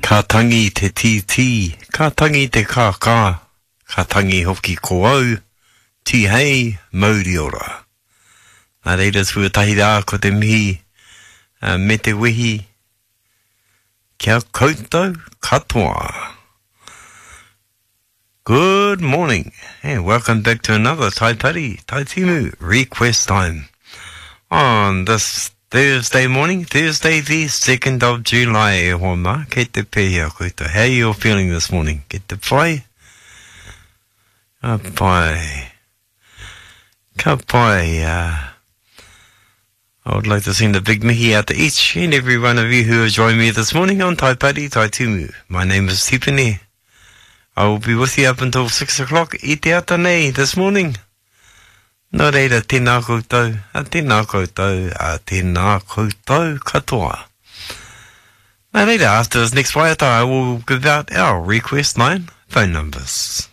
Ka tangi te tītī, ka tangi te kākā, ka tangi hoki ko au, tīhei mauri ora. Nā reira tuatahi rā ko te mihi me te wehi kia koutou katoa. Good morning and welcome back to another Taipari Taitimu request time. On this Thursday morning, Thursday the 2nd of July, e hoa mā, kei te pēhea koutou. How you all feeling this morning? Kei te pai? Ka pai. Ka pai. Uh, I would like to send a big mihi out to each and every one of you who have joined me this morning on Taipari Taitumu. My name is Tipene. I will be with you up until 6 o'clock i te ata nei this morning. Nō reira, tēnā koutou, a tēnā koutou, a tēnā koutou katoa. Nā reira, after this next waiata, I will give out our request line phone numbers.